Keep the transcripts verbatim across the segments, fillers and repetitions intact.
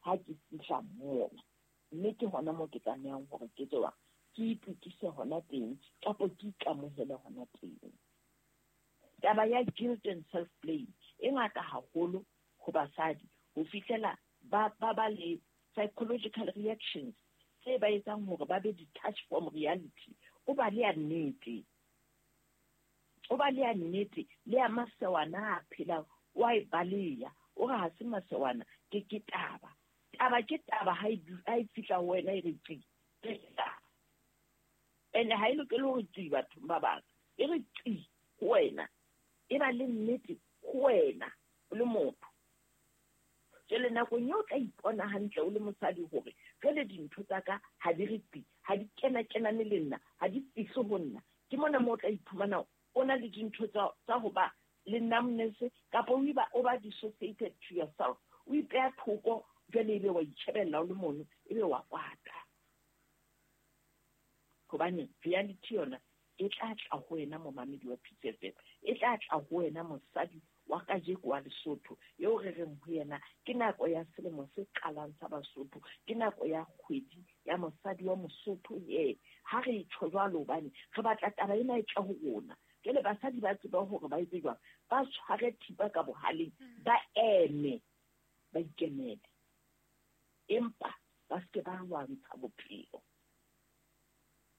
Ha ke fihla mona, mme ke hona moo ke tlamehang hore ke tswa ke itukise hona teng, kapa ke ikamohele hona teng. Taba ya guilt and self blame e ngata haholo ho basadi, ho fihlela ba ba ba le psychological reactions tse ba etsang hore ba be detached from reality. O ba le ya nnete, o ba le ya nnete le ya masewana a phelang, wa e baleya, o re ha se masewana, ke ke taba. Taba ke taba ha e ha e fihla ho wena e re tsi, ke taba. Ene ha e lokele hore tsi bathong ba bang, e re tsi ho wena, e ba le nnete ho wena o le motho. Jwale nakong eo o tla ipona hantle o le mosadi hore jwale dintho tsa ka ha di re tsi, ha di kena-kenane le nna, ha di fihle ho nna. Ke mona moo o tla iphumana o na le dintho tsa, tsa ho ba le numbness, kapa o iba, o ba dissociated to yourself. O ipeha thoko, jwale ebe wa itjhebella o le mono, ebe wa kwata. Hobane reality yona e tla tla ho wena momamedi wa P C F M, e tla tla ho wena mosadi wa kajeko wa Lesotho, eo re reng ho yena ke nako ya selemo se qalang sa Basotho, ke nako ya kgwedi ya mosadi wa Mosotho. Ye ha re tjho jwalo hobane re batla taba ena e tle ho rona. Jwale basadi ba tseba hore ba etse jwang, ba tshware thipa ka bohaleng, ba eme, ba ikemele, empa ba se ke ba lwantsha bophelo.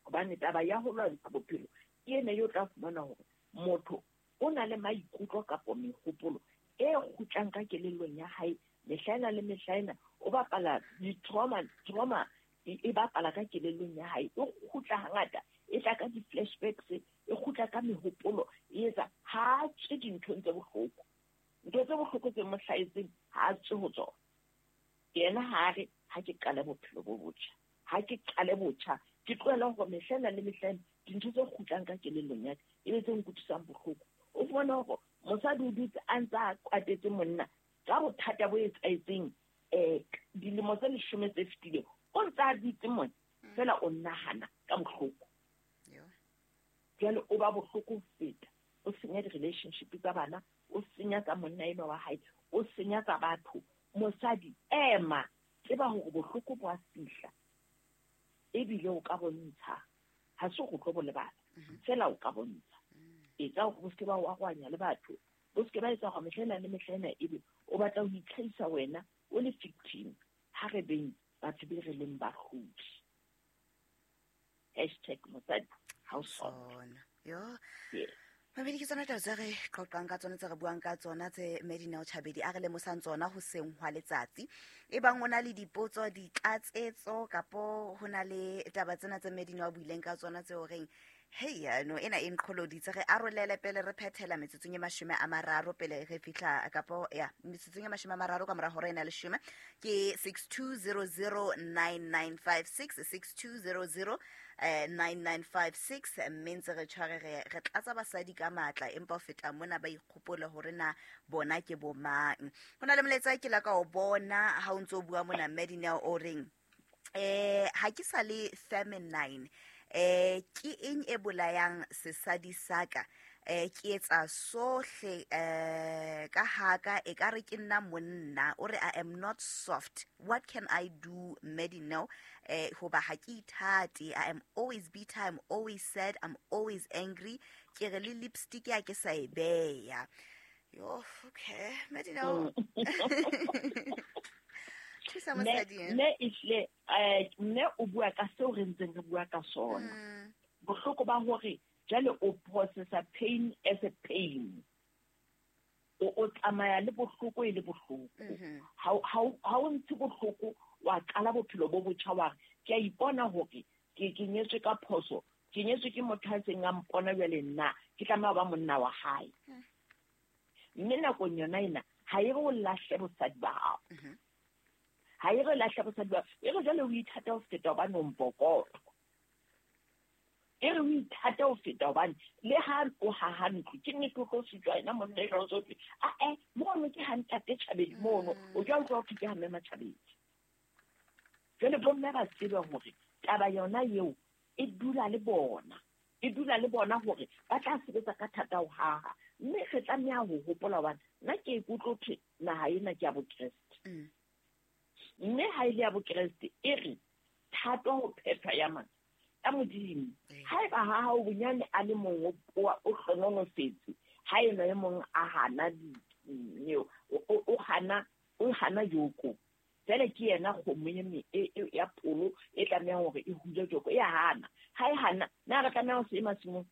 Hobane taba ya ho lwantsha bophelo ke ena eo tla fumana hore motho o na le maikutlo kapa mehopolo e kgutlang ka kelellong ya hae mehla ena le mehla ena, o bapala di-trauma, trauma e, e bapala ka kelellong ya hae, e kgutla hangata, e tla ka di-flashbacks, e kgutla ka mehopolo, e etsa ha a tswe dinthong tse bohloko. Ntho tse bohloko tse mo hlahetseng ha a tswe ho tsona. Yena ha a re ha ke qale bophelo bo botjha, ha ke qale botjha, ke tlohela hore mehla ena le mehla ena dintho tse kgutlang ka kelellong ya ka e be tse nkutlwisang bohloko. O fumana hore mosadi o dutse a ntse a kwatetse monna ka bothata bo etsahetseng, eh, dilemo tse leshome tse fetileng, o ntse a dutse mona fela o nahana ka bohloko. Jwale o ba bohloko ho feta, o senya di-relationship tsa bana, o senya tsa monna enwa wa hae, o senya tsa batho. Mosadi ema, tseba hore bohloko bo a fihla, ebile o ka bontsha, ha se go tlo bo lebala, fela o ka bontsha. Etsa hore bo se ke ba o arohanya le batho, bo se ke ba etsa hore mehla ena le mehla ena ebe o batla ho itlhahisa wena o le victim. Ha re beng batho be re leng bahlodi. Hashtag mosadi ha o sona. Yo. Yes. Mamedi, ke tsona taba tse re qoqang ka tsona, tse re buang ka tsona, tse Medina Chabedi a re lemosang tsona ho seng hwa letsatsi. E bang o na le dipotso, ditlatsetso, kapo ho na le taba tsena tse Medina a buileng ka tsona tse o reng hei, no ena e nqholoditse, re arolele pele re phethela metsotsong e mashome a mararo pele re fihla kapo ya metsotsong e mashome a mararo ka mora hora ena leshome, ke six two zero zero nine nine five six, six two zero zero, eh, nine nine five six. Mme ntse re tshware re, re tlatsa basadi ka matla, empa ho feta mona ba ikgopole hore na bona ke bo mang. Ho na le molaetsa ke la ka o bona ha o ntso o bua mona Medina o reng, eh, ha ke sa le feminine, eh, ke eng e bolayang sesadi sa ka? Eh, ke etsa sohle, eh, ka haka e ka re ke nna monna. O re I am not soft, what can I do Medina? Eh, hoba ha ke ithate, I am always bitter, I'm always sad, I'm always angry. Ke re le lipstick ya ke sa e beya. Yo, okay Medina. Thusa mosadi, eh? Mme ehlile, eh, mme o bua ka seo re ntseng re bua ka sona. Mm. Bohloko ba hore jwale o processa pain as a pain. O, o tsamaya le bohloko e le bohloko. Mm-hmm. Ha o, ha o, ha o ntshe bohloko, wa qala bophelo bo botjha, wa re, ke a ipona hore ke, ke nyetswe ka phoso, ke nyetswe ke motho a seng a mpona jwale nna, ke tlameha ho ba monna wa hae. Mm. Mme nakong yona ena, ha e re o lahle bosadi ba hao. Mm-hmm. Ha e re lahle bosadi ba hao, e re jwale o ithata ho feta hobane o mpokoto. E re o ithata ho feta hobane le ha o haha ntlo, ke nnete o tlo sitwa ena monna e jwalo tsohle. Ah, eh, mono ke ha ntate Tjhabedi mono, o jwang utlwa ho thwe ke ha mme Matjhabedi. Jwale bomme ba tsebe hore taba yona eo e dula le bona. E dula le bona hore ba tla sebetsa ka thata ho haha. Mme re tlameha ho hopola hobane nna ke ikutlwe ho thwe naha ena ke ya Bokreste. Mm. Mme ha ile ya bokreste e re thato ho phethwa ya mang ya Modimo. Haeba ha hao bonyane a le mong o o hlonolofetse, ha ena e mong a hana dineo, o hana o hana joko. Jwale ke yena kgomo e ya pholo e tlamehang hore e hule joko, e a hana. Ha e hana, na re tlameha ho se masimong?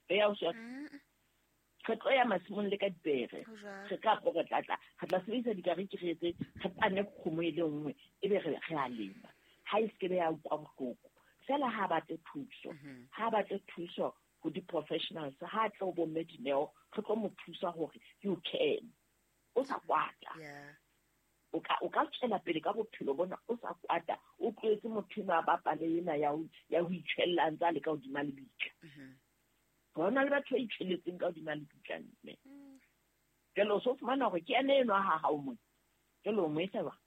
E ya o se re tlo ya masimong le ka dipere. Re ka re tla tla re tla sebedisa dikariki re etse re pane kgomo e le nngwe ebe re re a lema. Ha e se be ya utlwa bohloko. Fela ha batle thuso, ha batle thuso ho di-professionals, ha tle ho bo mme Dineo, re tlo mo thusa hore you can. O sa kwata. O ka o ka tswela pele ka bophelo bona o sa kwata, o tlohetse motho enwa a bapale ena ya ho ya ho itjhella ntse a le ka hodima lebitla. Hona le batho ba itjhelletseng ka hodima lebitla mme. Jwale o so fumana hore ke ene enwa ha hao mona. Jwale o mo etsa jwang?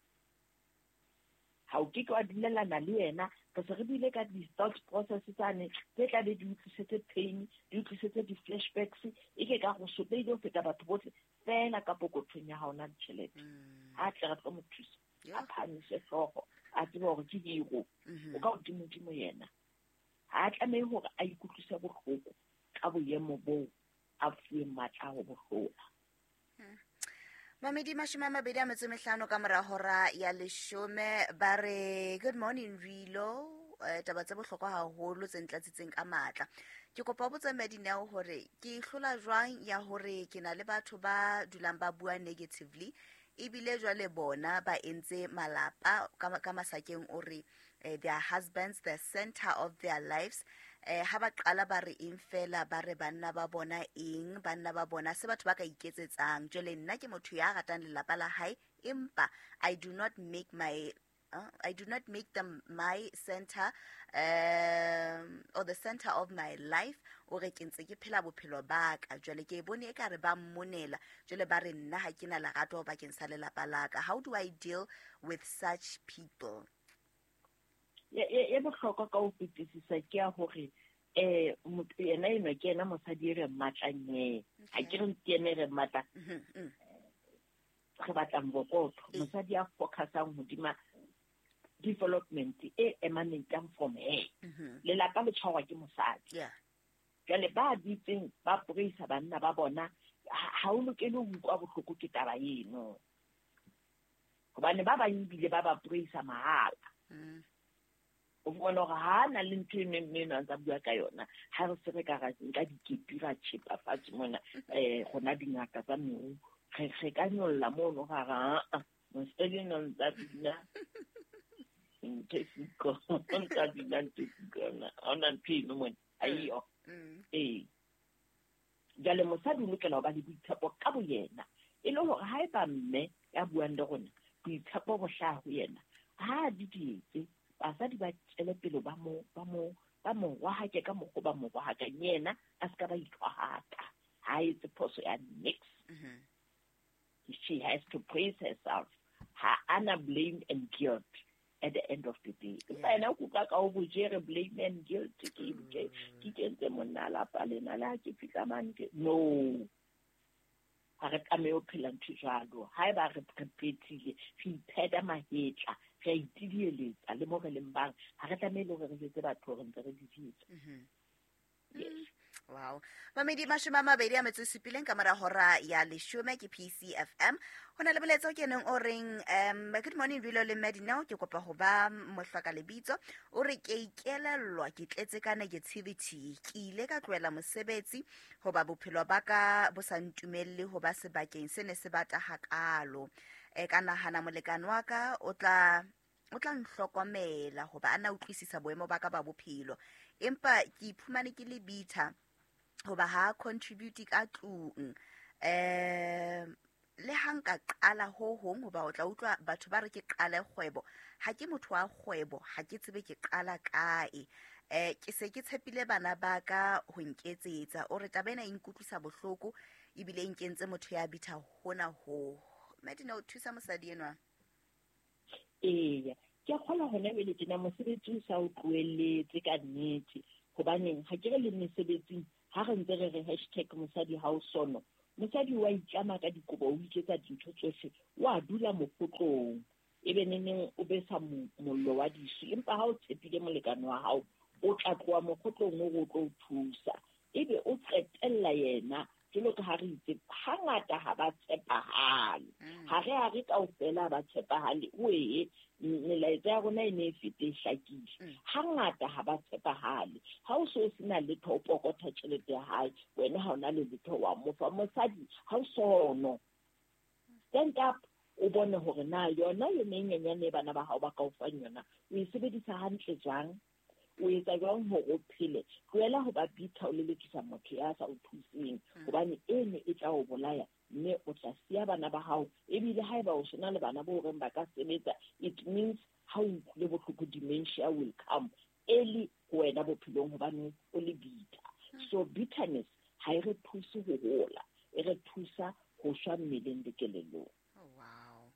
Ha o ke ke wa dumellana le yena. Re se re buile ka di-thought process tsane tse tla be di utlwisetse pain, di utlwisetse di-flashbacks, e ke ka go sotlehile ho feta batho bohle fela ka pokothong ya hao na ditjhelete. Ha tle re tlo mo thusa, a phahamise hlooho, a tsebe hore ke hero, o ka hodimodimo yena. Ha a tlamehe hore a ikutlwise bohloko ka boemo boo a fuweng matla a ho bo hlola. Mamedi mashome a mabedi a metso e mehlano ka mora hora ya leshome ba re good morning Rilo, eh, taba tse bohlokwa haholo tse ntlatsitseng ka matla. Ke kopa ho botsa Madineo hore ke hlola jwang ya hore ke na le batho ba dulang ba bua negatively ebile jwale bona ba entse malapa ka, ka masakeng o re eh, their husbands the center of their lives. Eh, ha ba qala ba re eng fela ba re banna ba bona eng, banna ba bona se batho ba ka iketsetsang. Jwale nna ke motho ya ratang lelapa la hae, empa I do not make my uh, I do not make them my center um, or the center of my life. O re ke ntse ke phela bophelo ba ka. Jwale ke e bone e ka re ba mmonela, jwale ba re nna ha ke na lerato bakeng sa lelapa la ka. How do I deal with such people? E bohlokwa ka ho fetisisa ke ya hore eh motho yena enwa ke yena mosadi e re mmatlang ye. Ha ke re ke yena e re mmatlang, re batlang bokotho. Mosadi ya focusang hodima development e emanating from her. Lelapa le tshwarwa ke mosadi. Jwale ba dutseng ba praisa banna ba bona, ha o lokele ho utlwa bohloko ke taba eno. Hobane ba bang ebile ba ba praisa mahala. O fumana hore ha na le ntho e mme eno a ntsa bua ka yona, ha re se re ka ra nka dikepi ra tjhepa fatshe mona, eh rona dingaka tsa meru, re re ka nyolla mono ra ra a mosadi eno ntsa bina ntho e siko, ntsa bina ntho e siko, ha hona ntho eno mona, aiyo. Ee. Jwale mosadi o lokela ho ba le boitshepo ka boyena, e le hore haeba mme ya buang le rona, boitshepo bo hlaha ho yena, ha a di dietse, basadi ba tswele pele ba mo ba mo ba mo rohake ka mokgwa ba mo rohakang, yena a se ka ba ithwahaka. Ha etse phoso ya nix. She has to praise herself. Ha ana blame and guilt at the end of the day. Empa yena o kuka ka o bojere blame and guilt, ke ke ke kentse monna lapa lena le ha ke fihla mane ke no. Ha re tlameha ho phela ntho jwalo. Haeba re re phethile, re ipheta mahetla, re a itidieletsa le mo re leng bang, ha re tlamehile hore re jwetse batho hore ntse re di etsa. Yes. Wow. Mamedi mashome a mabedi a metso e supileng ka mora hora ya leshome ke P C F M. Ho na le molaetsa o keneng o reng um good morning Rilo le Madineo, ke kopa ho ba mohlwaka lebitso. O re ke ikelellwa ke tletse ka negativity, ke ile ka tlohela mosebetsi hoba bophelo ba ka bo sa ntumelle ho ba sebakeng se ne se bata hakalo. E ka nahana molekane wa ka o tla o tla nhlokomela hoba a na utlwisisa boemo ba ka ba bophelo, empa ke iphumane ke le bitter hoba ha contribute ka tlung. Eh le ha nka qala ho hong hoba o tla utlwa batho ba re ke qale kgwebo, ha ke motho wa kgwebo, ha ke tsebe ke qala kae. Eh ke se ke tshepile bana ba ka ho nketsetsa. O re taba ena e nkutlwisa bohloko ebile e nkentse motho ya bitter hona ho. Madina o thusa mosadi enwa. Eya, ke a kgolwa hona jwale tjena mosebetsi o sa o tlohelletse ka nnete. Hobaneng ha ke re le mesebetsing ha re ntse re re hashtag mosadi ha o sono, Mosadi wa itlama ka dikobo, o iketsa dintho tsohle, wa dula mokotlong, ebe neneng o besa mollo wa disu. Empa ha o tshepile molekane wa hao, o tla tloha mokotlong o re o tlo o thusa, ebe o qetella yena. Jwalo ka ha re itse, hangata ha ba tshepahale. Ha re a re kaofela ba tshepahale, oe melaetsa ya rona e ne e fete e hlakile. Hangata ha ba tshepahale. Ha o so sena letho, o pokotha tjhelete ya hae, wena ha o na le letho wa mo fa. Mosadi ha o sono. Stand up, o bone hore na yona yone e nyenyane e bana ba hao ba ka o fang yona, o e sebedisa hantle jwang? O etsa jwang hore o phele? Tlohela ho ba bitter, o lelekisa motho ya sa o thuseng, hobane eno e tla o bolaya, mme o tla siya bana ba hao. Ebile haeba o sena le bana bo horeng ba ka sebetsa, it means ha o utlwile bohloko, dementia will come early ho wena bophelong, hobane o le bitter. So bitterness ha e re thuse ho hola, e re thusa ho shwa mmeleng le kelellong. Oh, wow.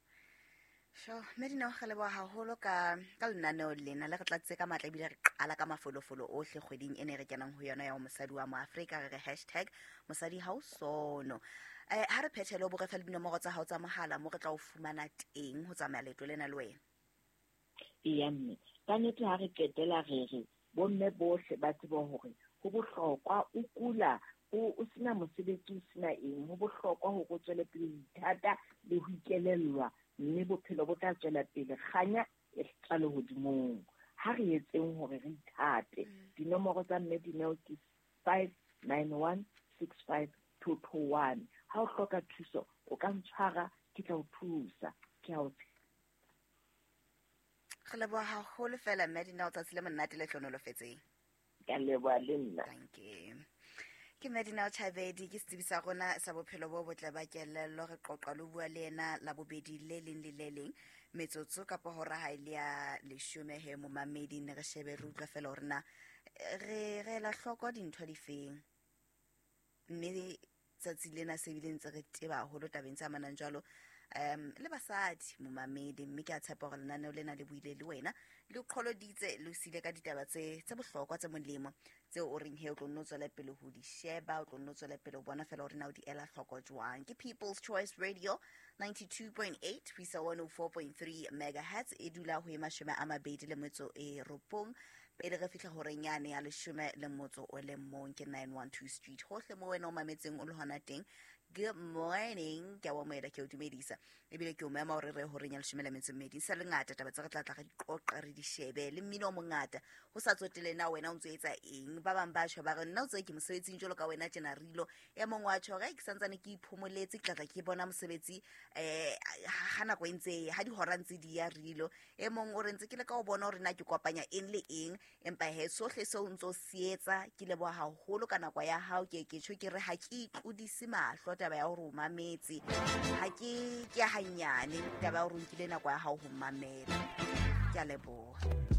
Sure, Medina, re leboha haholo ka ka lenaneo lena le re tlatse ka matla, ebile re qala ka mafolofolo ohle kgweding ena e re kenang ho yona ya ho mosadi wa Moafrika. Re re hashtag mosadi ha o sono. Eh, ha re phethele, o bo re fe le dinomoro tsa hao tsa mohala mo re tla o fumana teng ho tsamaya leeto lena le wena. Eya mme, ka nnete ha re qetela re re bomme bohle ba tsebe hore ho bohlokwa o kula, o o sena mosebetsi, o sena eng, ho bohlokwa hore o tswele pele ho ithata le ho ikelellwa, mme bophelo bo tla tswela pele, kganya e tla lehodimong. Ha re etseng hore re ithate. Dinomoro tsa mme Dineo ke five nine one six five two two one. Ha o hloka thuso, o ka ntshwara, ke tla o thusa. Ke a o Re leboha haholo fela mme Dineo, tsatsi le monate le hlohonolofetseng. Ka leboha le nna. Thank you. Ke Medina Chabedi, ke setsebi sa rona sa bophelo bo botle ba kelello. Re qoqa le bua le yena Labobedi le leng le le leng, metsotso kapa hora ha e le ya leshome he momamedi, ne re shebe re utlwa fela hore na re re ela hloko dintho difeng, mme tsatsi lena se bile ntse re teba haholo tabeng tse amanang jwalo um le basadi momamedi. Mme ke a tshepa hore lenaneo lena le buile le wena, le qholoditse, le o siile ka ditaba tse tse bohlokwa tse molemo tseo o reng he o tlo nno tswela pele ho di sheba, o tlo nno tswela pele ho bona fela hore na o di ela hloko jwang. Ke People's Choice Radio ninety-two point eight ho isa one oh four point three megahertz, e dula ho e mashome a mabedi le metso e robong pele re fihla horeng yane ya leshome le motso o le mong. Ke nine one two Street, hohle mo wena o mametseng o le hona teng. Good morning, ke a o amohela, ke o dumedisa, ebile ke o mema hore re horeng ya leshome le metso e mmedi. Sa le ngata taba tse re tla tla re di qoqa, re di shebe le mmino o mongata, ho sa tsotele na wena o ntso etsa eng. Ba bang ba tjho ba re nna o tse ke mosebetsing jwalo ka wena tjena rilo. E mong wa tjho re ke santsane ke iphomoletse, ke tla tla ke bona mosebetsi eh ha nako e ntse ha dihora ntse di ya rilo. E mong o re ntse ke le ka o bona hore na ke kopanya eng le eng, empa he sohle seo o ntso se etsa. Ke leboha haholo ka nako ya hao. Ke ke tjho ke re ha ke itlodise mahlo taba ya hore o mametse, ha ke ke hanyane taba ya hore o nkile nako ya hao ho mamela. Ke a leboha.